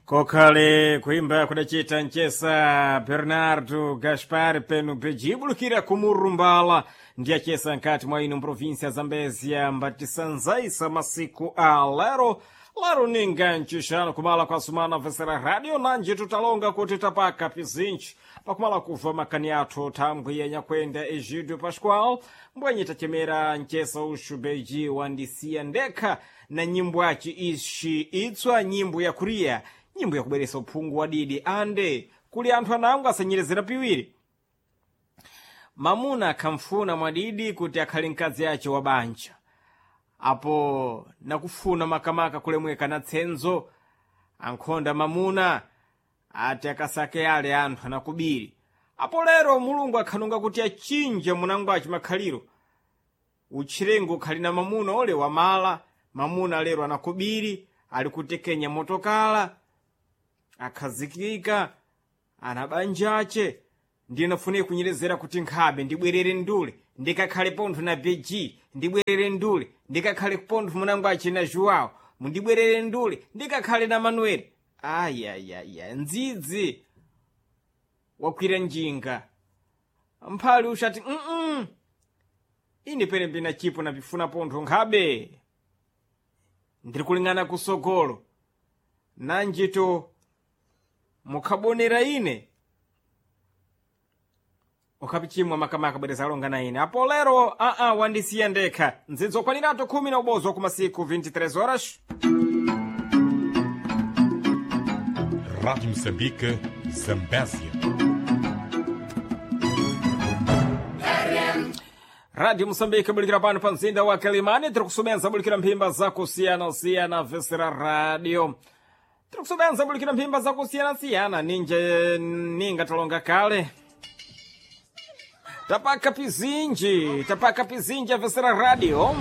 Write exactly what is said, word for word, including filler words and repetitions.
Kokhale kuimba kudachita mchesa Bernardo Gaspar penu pejibulukira kumurumbala ndi achesa nkati mwa ino mprovinsia Zambezia mbatisanzaisa masiku a lero lero ninga ncixano kumala kwa sumana vesera radio nanji tutalonga kuti tapaka pizinji pakumala kuva makani athu thambwi yanyakwenda Egidio Pascoal mbwenye tachemera mchesa uxu beji wandisiya ndekha na nyimbo aci ixi itswa nyimbo ya kuriya nyimbo yakubweresa uphungu wa didi ande kuli anthu anango asanyerezera piwiri mamuna akhamfuna mwadidi kuti akhale mkazi ace wa banja apo nakufuna makamaka kulemweka na tsenzo ankhonda mamuna ati akasake ale anthu anakubiri apo lero mulungu akhanunga kuti achinje munango aci makhaliro utchirengo ukhali na mamuna ole wamala mamuna lero anakubiri ali kutekenya motokala akhazikika ana banja ace ndinafunika kunyerezera kuti nkhabe ndibwerere ndule ndikakhale pontho na beji ndibwerere ndule ndikakhale pontho munango ace na joao mundibwerere ndule ndikakhale na manueli ayayaya ndzidzi wakwira njinga mphali uxati mm ine pene mbina chipo napifuna pontho nkhabe ndiri kulingana kusogolo nanjito mukhabonera ine ukhapichimwa makamaka bwereza alonga na ine apo lero aa wandisiya ndekha ndzidzo okwaniratu khumi na ubodzi kumasiku vinte e três horas. Rádio Moçambique, Zambésia. Rádio Moçambique bulikira pano pa mzinda wa Quelimane tiri kusumenza bulikira mphimba zakusiyana-siyana vesera radio tiri kusumenza bulikira mphimba zakusiyana-siyana ninje ninga talonga kale tapaka pizinji tapaka pizinji avesera radio.